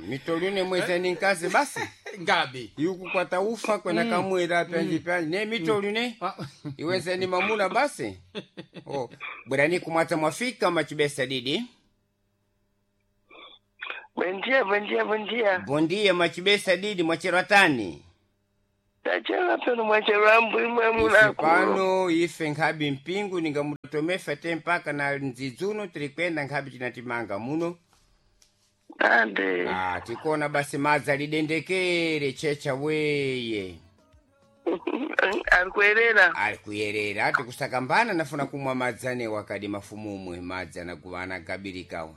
Mitolune mwezeni nkazi basi Ngabi. Yukukwata ufa kwena kamwera pyanji pyanji ne mitolune iwezeni mamuna basi. Oh, bwerani kumwata mwafika machibesa didi. Bom dia, bom dia, bom dia. Bom dia machibesa didi mwacheratani. Tachela pano mwacherambu imwe Ife munaku. pano ife nkhabi mpingu ningamutomefa te mpaka na nzidzuno tirikwenda nkhabi tinatimanga muno. Ande. Ah, tikona basi madzi alidendekere checha weye. Arikuerera. Ali kuyerera tikusakambana nafuna kumwa madzi anewo akadi mafumumwe madzi anaguva anagabirikawa.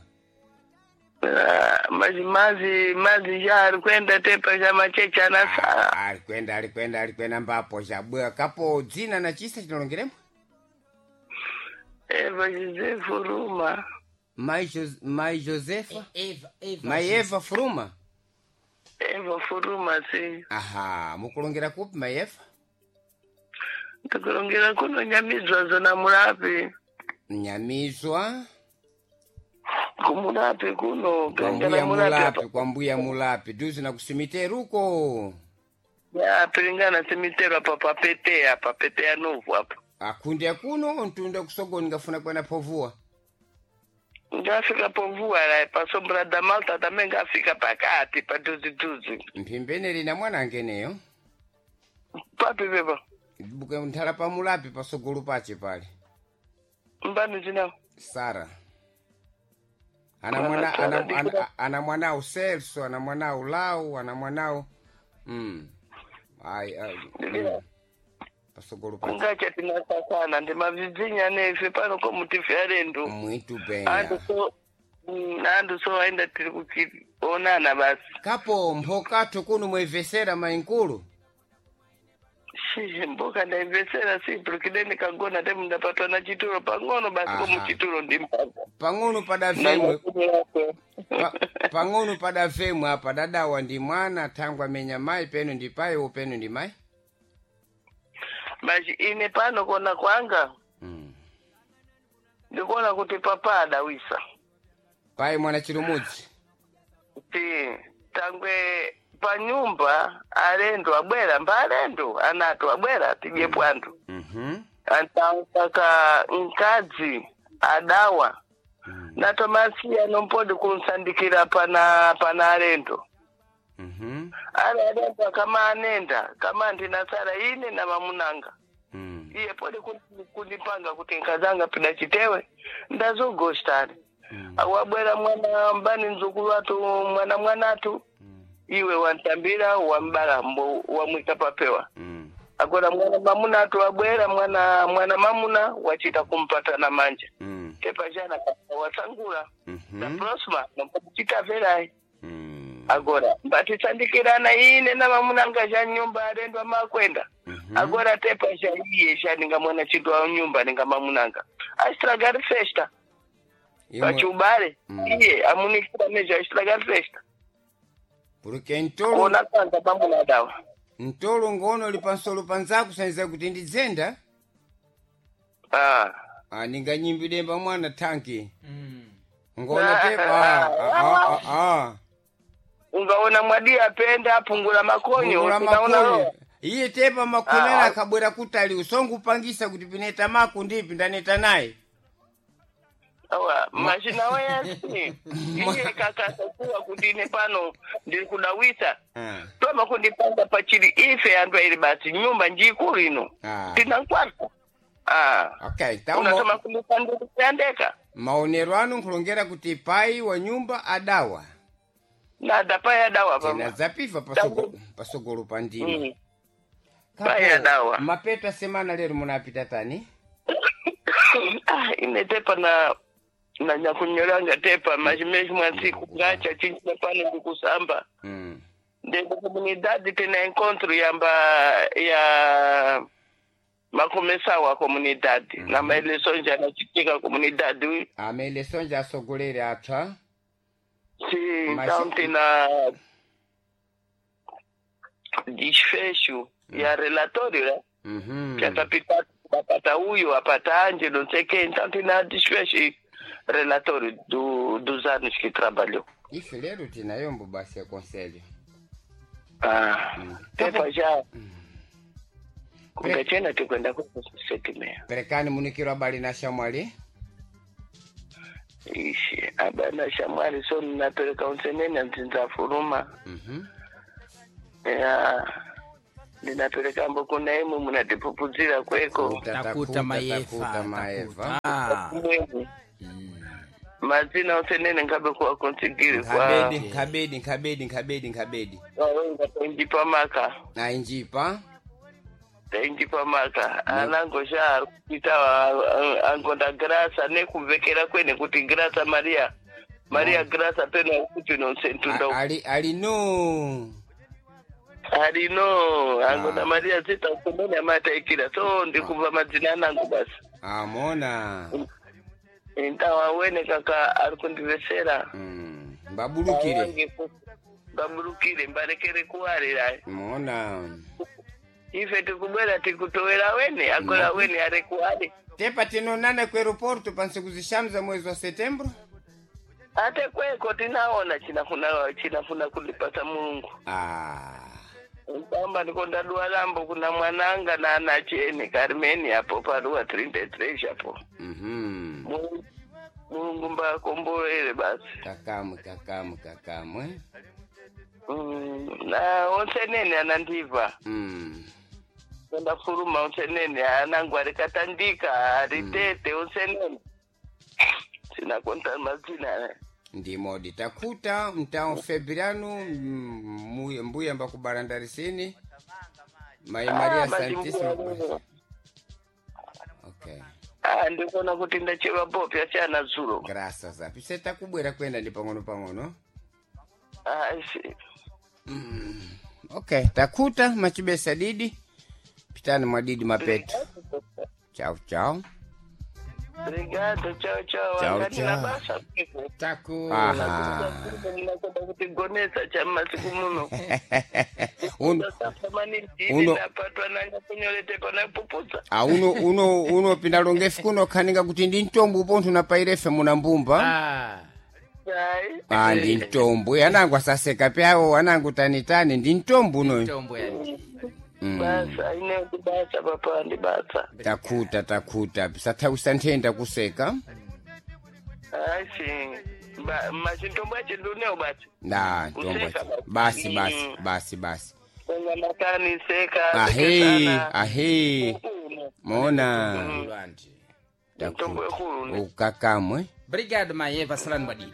Mazi mazi mazi já arikwenda tepa já machecha anasara. Alikwenda alikwenda alikwenda mbapo chabwa kapo dzina na chisa chinalongeremo. Eva José Furuma. Mai, Mai Josefa? Eva, Eva. Mai Eva Furuma? Eva Furuma, sim. Aha, mukulongera kupi Mai Eva? Ndikulongera kuno Nyamizwa zona Murapi. Nyamizwa Kumurapi kuno. kwa Piringana mbuya Murapi Mulapi, apa. kwa mbuya Mulapi duzi na kusimiteruko. Ya, piringana simitero apa papetea apa petea novo apa. Akunde kuno ntunda kusogoni ngafuna kwena povua. Ngafika povua lá, pa Sombra da Malta também ngafika pakati, pa duzi duzi. Mphimbene lina mwana angeneyo. Papi beba, Buke nthala pa Mulapi pasogolo pache pale. mbani zina. Sara. Ana Mwana mwana Sara, ana, ndikura- ana, ana mwanao Celso, ana mwanao Lau, ana mwanao Ai, ai. Ndikura. Pasogolo pache. Kungacha tinasakana, ndimavidzinya nefe pano komutife alendo. Mwitu benya. Andu so, andu so aenda tiri kuchionana basi. Kapo mphokato kuno mwevesera mainkulu. Shiye mboka ndaimvesera si porque kagona temu ndapatwa na chituro pang'ono basi Aha. komu chituro ndimpata. Pang'ono padavemwe pang'ono padavemwe apa dadawa ndi mwana thangwa amenya mayi peno ndi payi peno ndi mayi. Basi ine pano kona kwanga ndikuona kuti papa adawisa. Payi mwana chilumudzi. Ti tangwe panyumba alendo abwera mba alendo anatu abwera tidye pwandu. Antautaka mkadzi adawa na tomasiya nompodi kunsandikira pana pana alendo. Ale alendo kama anenda kama ndinasara ine na mamunanga. Iye pode kundipanga kuti nkazanga pida chitewe ndazogostani. Awabwera mwana mbani mzukulu watu mwana mwanatu iwe wantambira wambala mbo wamwika papewa. Agora mwana mamunatu wabwera mwana mwana mamuna wachita kumpata na manja. Tepa jana wasangula. Na prosma nompachita verai. Agora mbatisandikirana ine na mamunanga ja nyumba alendwa makwenda. Agora tepa ja iye ja ninga mwana chitu wa nyumba ninga mamunanga. Astragari festa. Pachubale iye amunikira meja astragari festa. Porque ntolo Kuona kwanza pamuna dawa. ntolo ngono li pansolo panzaku sanza kuti ndidzenda. Ah. Ah, ninganyimbidemba mwana thanki. Ngona tepa ah, ah, ah, ah. Ungaona mwadi apenda apungula makonyo Kungula unaona makonyo. Iye tepa makonera Ah. akabwera kutali usongupangisa kuti pineta mako ndipi ndaneta naye. Awa, mashina weyasi iye kakasa kuwa kuti ine pano ndiri kudawisa Ah. toma kundipanga pachiri ife andu aili basi nyumba njikulu ino Ah. tinankwata ah. Okay, taumo unatoma kundipandikuyandeka maonero anu nkulongera kuti pai wa nyumba adawa. nada paya dawa Tena pama zapifa pasogolo pa ndima. Kapo, Pai adawa. Mapeto semana lero munapita tani? Ah, ine tepa na na nyakunyolanga tepa machimechi mwasiku ngacha chinchina pano ndikusamba ndende comunidade tena encontro yamba ya makomesawa comunidade na maeleções anachitika comunidade. Amaeleções asogolere atsva. Sim, Mas- então tena desfecho ya relatório, né? Que atapita apata uyo apata anje não sei quem, então tena desfecho. relatório dos anos que trabalhou. Ife lero tinayombo basi ya conselho. Ah, tepa já. Kungachena tikwenda kwa 7:30. Perekani munikiro abali na shamwali. Ishi, abana shamwali so ninapereka unsenene nzinza furuma. Ya ndinapereka mbo kuna imwe munatipupuzira kweko. Takuta mayefa. Takuta maeva. Takuta. Mwemu. Mazina unsenene ngabe kuwa konsigiri kwa Nkabedi, nkabedi, nkabedi, nkabedi, nkabedi. wawenga tainjipa maka. Na injipa. Tainjipa maka. Anango sha kuita angonda grasa nekuvekera kwene kuti grasa Maria. Maria grasa peno kuti nonsentunda Ali ali no. alino angonda Maria zita kumene amataikira so ndikubva madzina anango basi. Amona. Intawa wene kaka ari kundivesera. Mbabulukire. Awange mbabulukire mbarekere kuwarira. Mona. Ife tikubwera tikutowera wene agora wene ari kuwari. Tepa tinonana ku aeroporto pansiku zishanu za mwezi wa Setembro. Ate kweko tinaona chinafuna chinafuna kulipasa Mulungu. Ah. Kwamba ndikonda dua lambo kuna mwananga na anachene Carmen apo parua 33 apo. Mulungu mbakombolere basi. Kakamwe kakamwe kakamwe. Na onse nene anandiva. Konda furuma onse nene anangu arikatandika aritete onse nene. Sinakonta mazina. Ndimodi takuta mtao Febrano mbuya mbakubarandarisini Mai Maria Ah, Santissima. mazimbuya. Okay. Ah, ndikuona kuti ndacheva bopi achana zulo. Graças a Deus. Takubwera kwenda ndi pang'ono pang'ono. Ah, si. Okay, takuta machibesa didi. Pitani mwa didi mapetu. Chao chao. Obrigado, tchau, tchau. Tchau, Angani na tchau. basa. Taku. Aha. Ndinakonda kuti gonesa cha masiku muno. Uno Uno napatwa nanga kunyolete pana pupudza. ah, uno uno uno pinda longefi kuno khaninga kuti ndi mtombo upontho napairefe muna mbumba. Ah. Ai. Ah, ndi mtombo. Anangu asaseka pyawo, anangu tanitani ndi mtombo uno. Tombo ya ndi. Basa ine ndi basa papa ndi basa. Takuta takuta. Sathawisa nthenda kuseka. Ai si. Ba machintombo achi nduneo basi. Na mtombo. Kuseka Basi basi. basi basi basi. Kwenye makani seka. Ahe, sekesana. ahe. Mona. Lwandi. Mtombo Takuta. ekulu. Ukakamwe. Brigado Mayeva salani badidi.